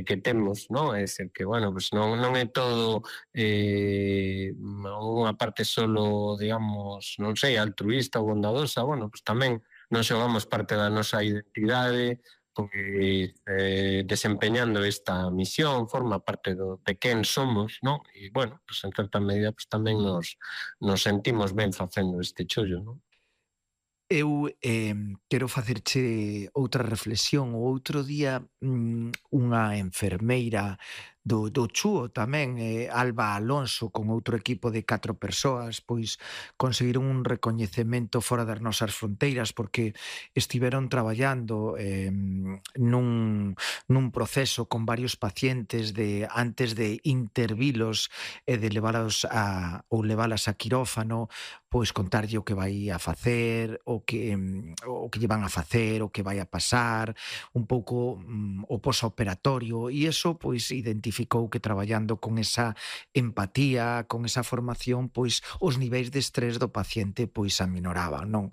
que temos, non? É dicir, que, bueno, pues non é todo unha parte solo, digamos, non sei, altruísta ou bondadosa, bueno, pues tamén non xogamos parte da nosa identidade, pois desempeñando esta misión, forma parte de quen somos, non? E, bueno, pues en certa medida pues tamén nos sentimos ben facendo este chollo, non? Eu quero facerche outra reflexión. O outro día unha enfermeira do Chúo tamén, Alba Alonso, con outro equipo de 4 persoas, pois conseguiron un recoñecemento fora das nosas fronteiras porque estiveron traballando nun proceso con varios pacientes de antes de intervilos e de levalos ou levalas a quirófano, pois contarlle o que vai a facer, o que lle van a facer, o que vai a pasar, un pouco o posoperatorio, e iso pois identificou que traballando con esa empatía, con esa formación, pois os niveis de estrés do paciente pois aminoraban, non?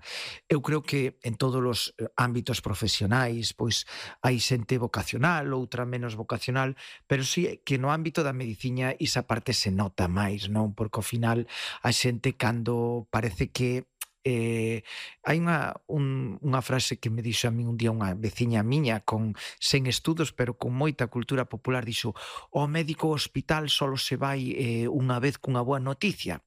Eu creo que en todos os ámbitos profesionais pois hai xente vocacional, outra menos vocacional, pero sí que no ámbito da medicina esa parte se nota máis, non? Porque ao final a xente cando parece que hai unha frase que me dixo a min un día unha veciña miña sen estudos pero con moita cultura popular, dixo: o médico ao hospital solo se vai unha vez cunha boa noticia.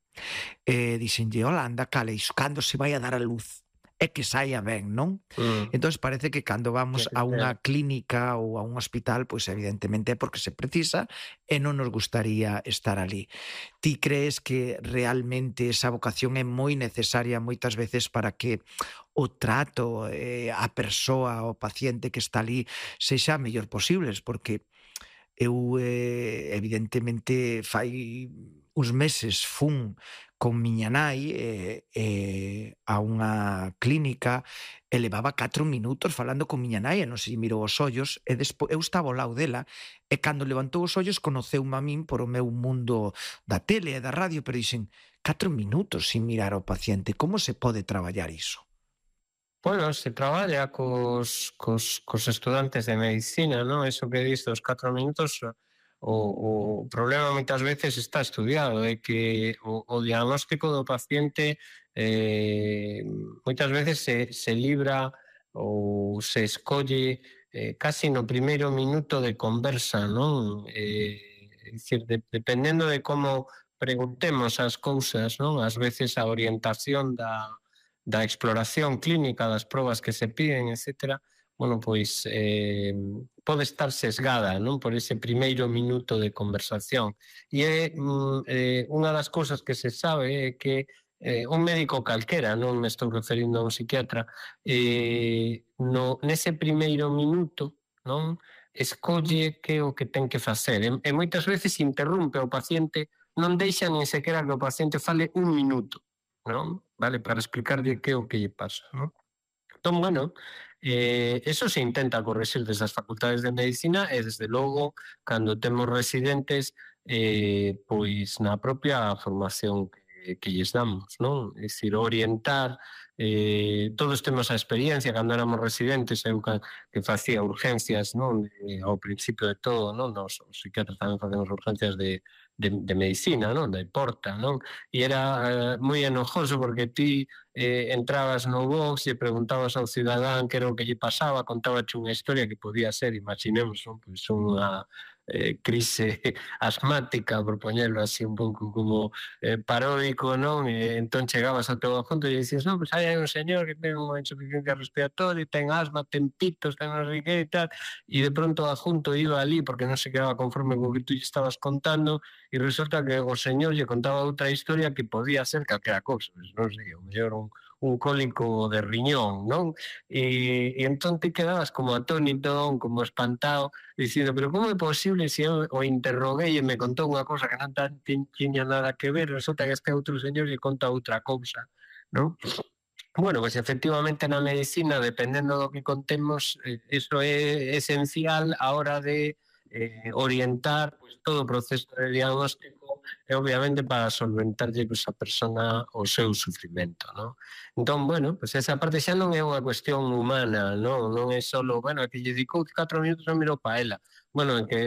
Dixenlle: hola, anda, cale, iso cando se vai a dar a luz é que saia ben, non? Mm. Entón parece que cando vamos a Eh, unha clínica ou a un hospital, pois evidentemente é porque se precisa e non nos gustaría estar ali. Ti crees que realmente esa vocación é moi necesaria moitas veces para que o trato, a persoa, o paciente que está ali sexa a mellor posibles? Porque eu, evidentemente, fai uns meses fun con miña nai a unha clínica e levaba 4 minutos falando con miña nai e non se lle mirou os ollos e eu estaba ao lado dela e cando levantou os ollos conoceume a min por o meu mundo da tele e da radio, pero dixen 4 minutos sin mirar ao paciente, como se pode traballar iso? Bueno, se traballa cos estudantes de medicina, non? Eso que dis dos 4 minutos, o problema moitas veces está estudiado, é que o diagnóstico do paciente moitas veces se libra ou se escolle casi no primeiro minuto de conversa, non? É dicir, dependendo de como preguntemos as cousas, non? Ás veces a orientación da exploración clínica, das probas que se piden, etcétera, bueno, pois pode estar sesgada, non, por ese primeiro minuto de conversación. E unha das cousas que se sabe é que un médico calquera, non me estou referindo a un psiquiatra, nese primeiro minuto, non, escolle que é o que ten que facer. E moitas veces interrumpe o paciente, non deixa nin sequera que o paciente fale un minuto, non? Vale, para explicarlle que é o que lle pasa, non? Entón, bueno, eso se intenta correxir desde as facultades de medicina e, desde logo, cando temos residentes, pois na propia formación que lles damos, non? É dicir, orientar, todos temos a experiencia, cando éramos residentes, eu que facía urgencias, non? Ao principio de todo, non? Os psiquiatras tamén facemos urgencias de medicina, non? De porta, non? E era moi enojoso porque ti entrabas no box e preguntabas ao cidadán que era o que lle pasaba, contábache unha historia que podía ser, imaginemos, non? Pois unha crise asmática, por poñerlo así un pouco como paródico, non? E entón chegabas ao teu adjunto e dicías, non, pois hai un señor que ten unha insuficiencia respiratoria, ten asma, ten pitos, ten non sei que e tal, e de pronto o adjunto iba ali porque non se quedaba conforme co que tú lle estabas contando e resulta que o señor lle contaba outra historia que podía ser calquera cousa, non sei, o mellor un cólico de riñón, non? E entón te quedabas como atónito, como espantado, dicindo, pero como é posible se eu o interroguei e me contou unha cousa que non tiña nada que ver, resulta que este outro señor lle conta outra cousa, non? Bueno, pues efectivamente na medicina, dependendo do que contemos, eso é esencial a hora de orientar pues, todo o proceso de diagnóstico e obviamente para solventarlle pues, a persona o seu sufrimento, ¿no? Entón, bueno, pues esa parte xa non é unha cuestión humana, non é só, bueno, é que lle dedicou 4 minutos e mirou pa ela. Bueno, é que